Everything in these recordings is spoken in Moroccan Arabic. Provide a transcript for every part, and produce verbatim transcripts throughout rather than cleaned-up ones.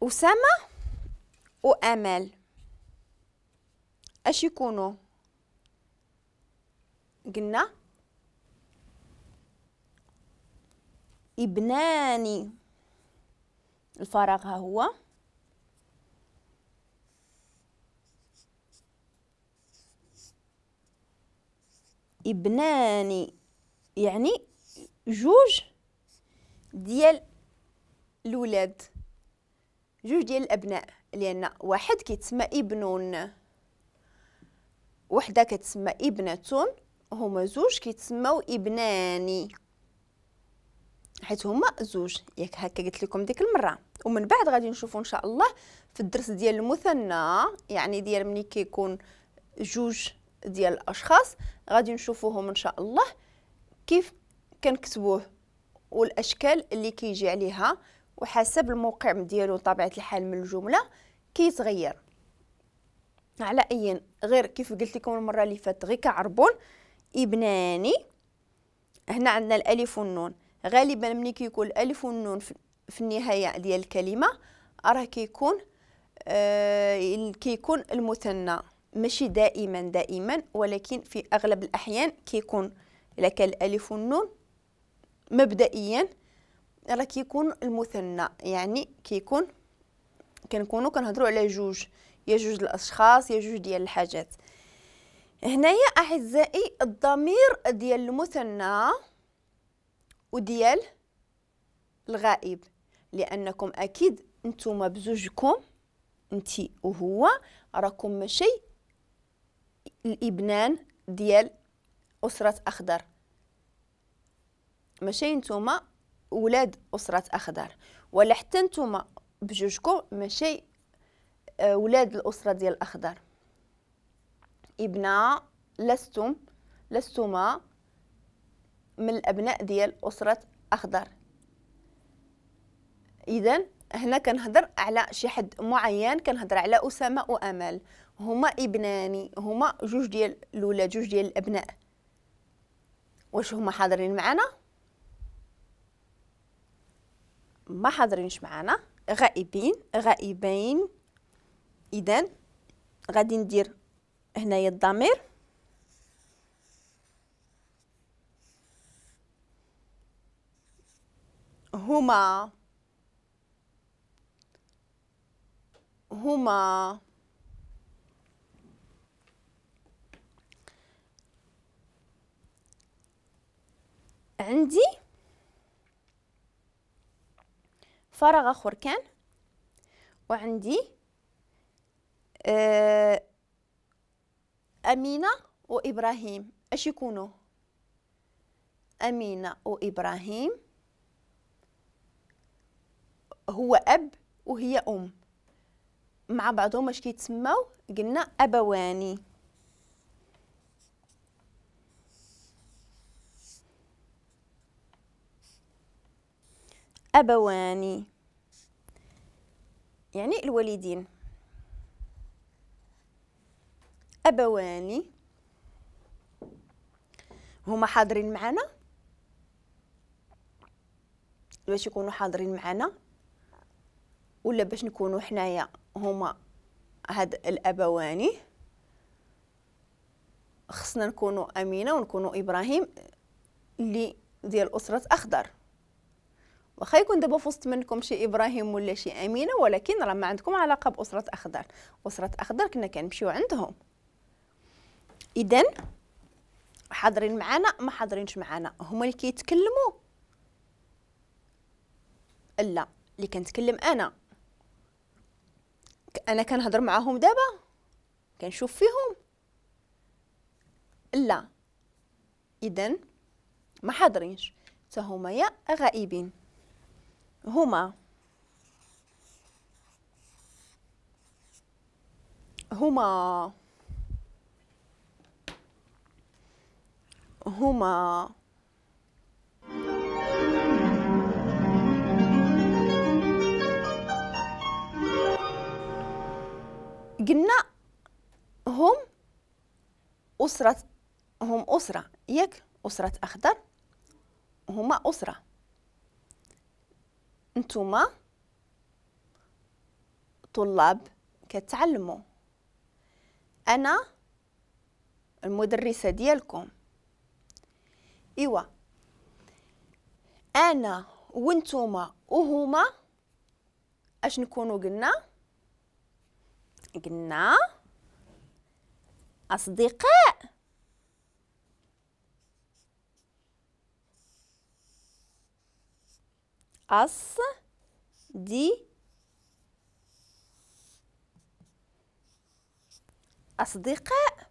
أسامة وأمل اش يكونوا؟ قلنا ابنان، الفراغ ها هو، ابنان يعني جوج ديال الولاد، جوج ديال الابناء، لان واحد كيتسمى ابن، وحده كتسمى ابنة، هما زوج كيتسموا ابنان حيت هما زوج، ياك هكا قلت لكم ديك المرة. ومن بعد غادي نشوفوا ان شاء الله في الدرس ديال المثنى، يعني ديال ملي كيكون جوج ديال الاشخاص غادي نشوفوهم ان شاء الله كيف كنكتبوه والاشكال اللي كيجي عليها، وحسب الموقع ديالو طبيعة الحال من الجملة كيتغير. على اي غير كيف قلت لكم المرة اللي فاتت غير كعربون ابناني، هنا عندنا الالف والنون. غالبا ملي كيكون الالف والنون في النهاية ديال الكلمة راه كيكون آه كيكون المثنى، ماشي دائما دائما ولكن في اغلب الاحيان كيكون الا كان الالف والنون مبدئيا راه كيكون المثنى، يعني كيكون كنكونوا كنهضروا على جوج، يا جوج الاشخاص يا جوج ديال الحاجات. هنايا اعزائي الضمير ديال المثنى وديال الغائب، لانكم اكيد نتوما بزوجكم انتي وهو راكم ماشي الابنان ديال اسره اخضر، ماشي نتوما ولاد اسره اخضر، ولا حتى نتوما بجوجكم ماشي ولاد الاسرة ديال الاخضر. ابنا لستم لستما من الابناء ديال اسره اخضر. اذا هنا كنهضر على شي حد معين، كنهضر على اسامة وامل، هما ابناني، هما جوج ديال الاولاد، جوج ديال الابناء. واش هما حاضرين معنا؟ ما حاضرينش معنا، غائبين، غائبين. اذا غادي ندير هنايا الضمير هما، هما. عندي فراغ اخر كان، وعندي آه أمينة وإبراهيم. اش يكونوا؟ أمينة وإبراهيم هو أب وهي أم، مع بعضهم اش كيتسماو؟ قلنا أبواني. أبواني يعني الوالدين. أبواني هما حاضرين معنا، باش يكونوا حاضرين معنا ولا باش نكونوا حنايا هما هاد الأبواني خصنا نكونوا أمينة ونكونوا إبراهيم اللي ديال أسرة أخضر. واخا يكون دابا في وسط منكم شي إبراهيم ولا شي أمينة، ولكن راه ما عندكم علاقة بأسرة أخضر. أسرة أخضر كنا كنمشيو عندهم. إذن حاضرين معنا ما حاضرينش معنا، هما اللي كيتكلموا؟ لا، اللي كنتكلم أنا، أنا كنهضر معاهم دابا، كنشوف فيهم؟ لا. إذن ما حاضرينش، حتى هما يا غائبين. هما هما هما. قلنا هم أسرة، هم أسرة، ياك؟ أسرة أخضر هما أسرة. نتوما طلاب كتعلموا، انا المدرسة ديالكم. ايوا انا وانتوما وهما اش نكونوا؟ قلنا قلنا اصدقاء. أص دي أصدقاء.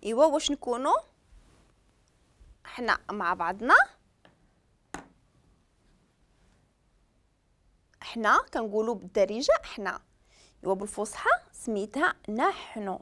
إيوا واش نكونوا حنا مع بعضنا؟ حنا كنقولوا بالدارجة حنا، إيوا بالفصحى سميتها نحن.